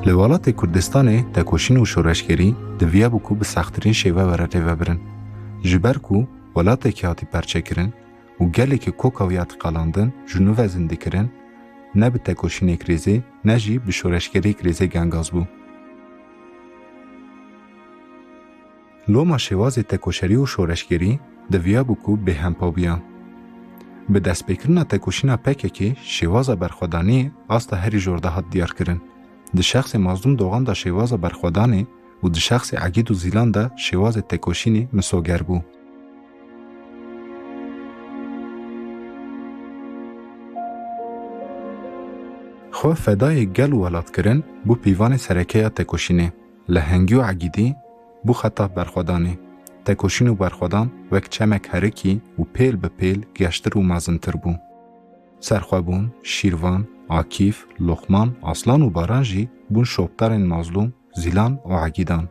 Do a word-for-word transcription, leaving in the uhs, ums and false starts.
Li welatê Kurdistanê tekoşîn û şoreşgerî diviya bû ku bi sextirîn şêve were rêvebirin. Ji ber ku welatekî hatî perçekirin û gelekî koka wî hatî qalandin ji nû ve zindîkirin, ne bi tekoşînê kirêzê ne jî bi şoreşgerî kirêzê gengaz bû. Loma şêwazê tekoşerî û şoreşgerî diviya bû ku bêhempa biya. Bi destpêkirina tekoşîna P K K şêwaza berxwedaniyê asta herî jor de hat diyarkirin. Di şexsê Mazlûm Dogan de şêwaza berxwedanê û di şexsê Egîd û Zîlan de şêwazê tekoşînê misoger bû. Xwe fedayê gel û welat kirin bû pîvanê sereke ya tekoşînê. Lehengî û Egîdî bû xeta berxwedanê. Tekoşîn û berxwedan wek çemek herikî û pêl bi pêl geştir û mezintir bû. Serxwebûn, Şîrvan, Akîf, Loqman, Aslan û Baran jî bûn şopdarên Mazlûm, Zîlan û Egîdan.